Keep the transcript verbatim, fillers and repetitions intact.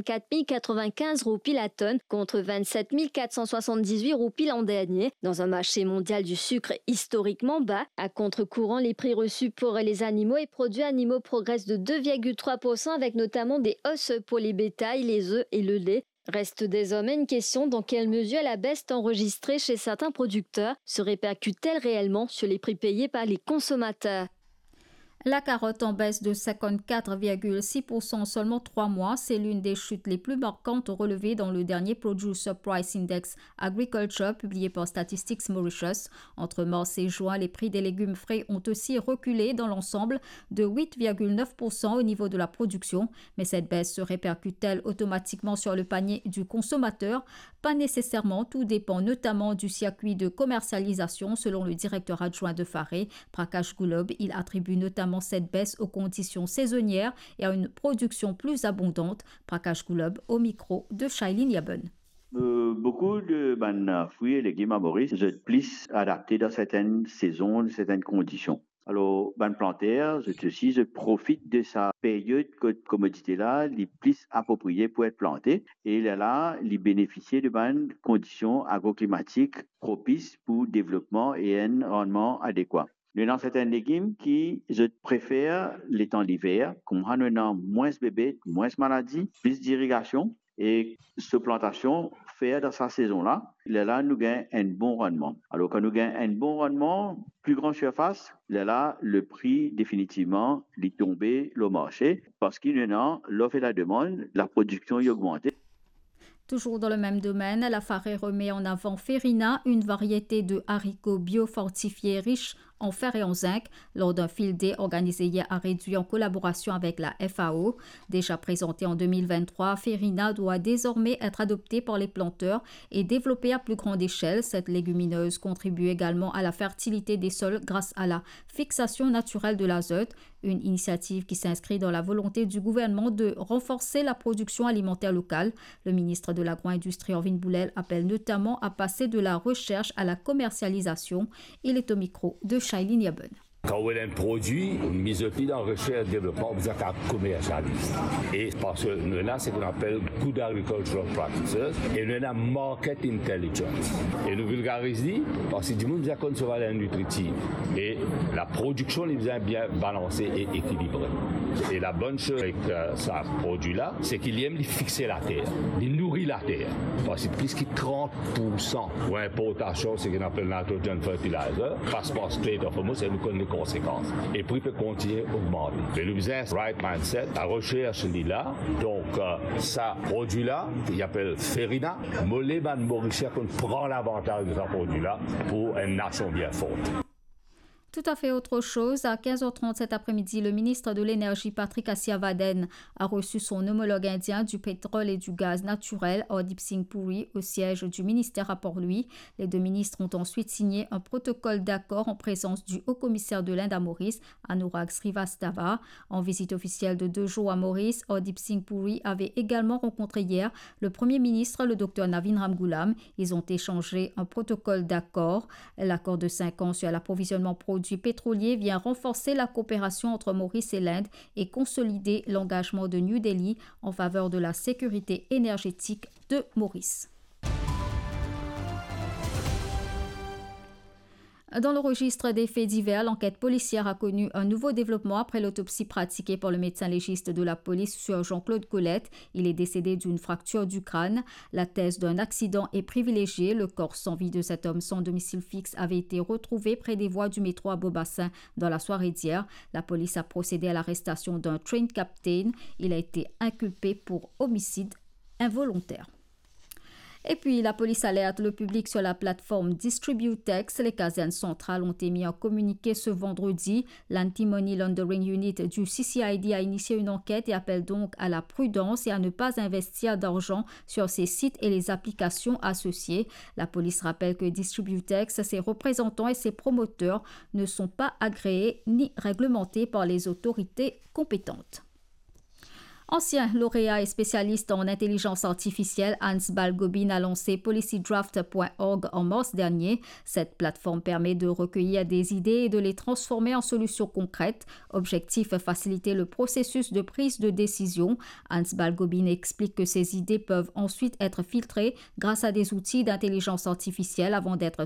quatre mille quatre-vingt-quinze roupies la tonne, contre vingt-sept mille quatre cent soixante-dix-huit roupies l'an dernier, dans un marché mondial du sucre historiquement bas. À contre-courant, les prix reçus pour les animaux et produits animaux progressent de deux virgule trois pour cent, avec notamment des hausses pour les bétails, les œufs et le lait. Reste désormais une question, dans quelle mesure la baisse enregistrée chez certains producteurs se répercute-t-elle réellement sur les prix payés par les consommateurs ? La carotte en baisse de cinquante-quatre virgule six pour cent en seulement trois mois, c'est l'une des chutes les plus marquantes relevées dans le dernier Producer Price Index Agriculture publié par Statistics Mauritius. Entre mars et juin, les prix des légumes frais ont aussi reculé dans l'ensemble de huit virgule neuf pour cent au niveau de la production. Mais cette baisse se répercute-t-elle automatiquement sur le panier du consommateur ? Pas nécessairement, tout dépend notamment du circuit de commercialisation, selon le directeur adjoint de Fare, Prakash Gulab. Il attribue notamment cette baisse aux conditions saisonnières et à une production plus abondante. Prakash Gulab au micro de Shailene Yaben. Euh, beaucoup de bann, euh, fruits et légumes à Maurice, zot plis adapté dans certaines saisons, dans certaines conditions. Alor, bann planter, zot osi, zot profit de sa period kot komodite la, li plis apropriye pou et plante, e lerla, li benefisie de bann kondision agroklimatik propis pou devlopman e enn rannman adekwa. Nou ena sertin legim ki zot prefer letan liver, koumsa nou ena mwins bebet, mwins maladi, plis dirigasion, e so plantasion fer dan sa sezon la, lerla nou gagn enn bon rannman. Alor, kan nou gagn enn bon rannman, pli gran sirfas, lerla le pri definitivman li tonbe lor marse, parski nou ena lof e lademann, laprodiksion li ogmante. Toujours dans le même domaine, la Fare remet en avant Ferina, une variété de haricots biofortifiés riche en fer et en zinc, lors d'un field day organisé hier à Réduit en collaboration avec la F A O. Déjà présentée en deux mille vingt-trois, Ferina doit désormais être adoptée par les planteurs et développée à plus grande échelle. Cette légumineuse contribue également à la fertilité des sols grâce à la fixation naturelle de l'azote, une initiative qui s'inscrit dans la volonté du gouvernement de renforcer la production alimentaire locale. Le ministre de l'Agro-industrie, Orvin Boulel, appelle notamment à passer de la recherche à la commercialisation. Il est au micro de Shailene Yaben. Kan ou ena enn prodwi, miz li dan resers devlopman, ou bizin kapav komersializ. E parski nou ena seki nou apel good agricultural practices e nou ena market intelligence. E nou vilgariz li, parski dimoun bizin konn so valer nitritif. E laprodiksion, li bizin bien balanse e ekilibre. E la bonn soz avek, euh, sa prodwi la, seki li mem li fixe later, li nouri later. Parski plis ki trant pour san pou inportasion, seki nou apel nitrogen fertilizer, pas par Strait of Hormuz, e nou konn li konsekans. E pri pe kontigne ogmante. Me nou bizin right mindset, laresers li la. Donk, euh, sa prodwi la, li apel Ferina, mo le bann Morisien konn pran lavantaz de sa prodwi la pou enn nasion bien for. Tout à fait autre chose, à quinze heures trente cet après-midi, le ministre de l'Énergie, Patrick Asirvaden, a reçu son homologue indien du pétrole et du gaz naturel, Hardeep Singh Puri, au siège du ministère à Port-Louis. Les deux ministres ont ensuite signé un protocole d'accord en présence du haut-commissaire de l'Inde à Maurice, Anurag Srivastava. En visite officielle de deux jours à Maurice, Hardeep Singh Puri avait également rencontré hier le Premier ministre, le docteur Navin Ramgoolam. Ils ont échangé un protocole d'accord. L'accord de cinq ans sur l'approvisionnement produits pétroliers vient renforcer la coopération entre Maurice et l'Inde et consolider l'engagement de New Delhi en faveur de la sécurité énergétique de Maurice. Dans le registre des faits divers, l'enquête policière a connu un nouveau développement après l'autopsie pratiquée par le médecin légiste de la police sur Jean-Claude Colette. Il est décédé d'une fracture du crâne. La thèse d'un accident est privilégiée. Le corps sans vie de cet homme sans domicile fixe avait été retrouvé près des voies du métro à Beaubassin dans la soirée d'hier. La police a procédé à l'arrestation d'un train captain. Il a été inculpé pour homicide involontaire. Et puis, la police alerte le public sur la plateforme Distributex. Les casernes centrales ont émis un communiqué ce vendredi. L'Anti-Money Laundering Unit du C C I D a initié une enquête et appelle donc à la prudence et à ne pas investir d'argent sur ces sites et les applications associées. La police rappelle que Distributex, ses représentants et ses promoteurs ne sont pas agréés ni réglementés par les autorités compétentes. Ancien lauréat et spécialiste en intelligence artificielle, Hans Balgobin a lancé policy draft point org en mars dernier. Cette plateforme permet de recueillir des idées et de les transformer en solutions concrètes. Objectif, faciliter le processus de prise de décision. Hans Balgobin explique que ces idées peuvent ensuite être filtrées grâce à des outils d'intelligence artificielle avant d'être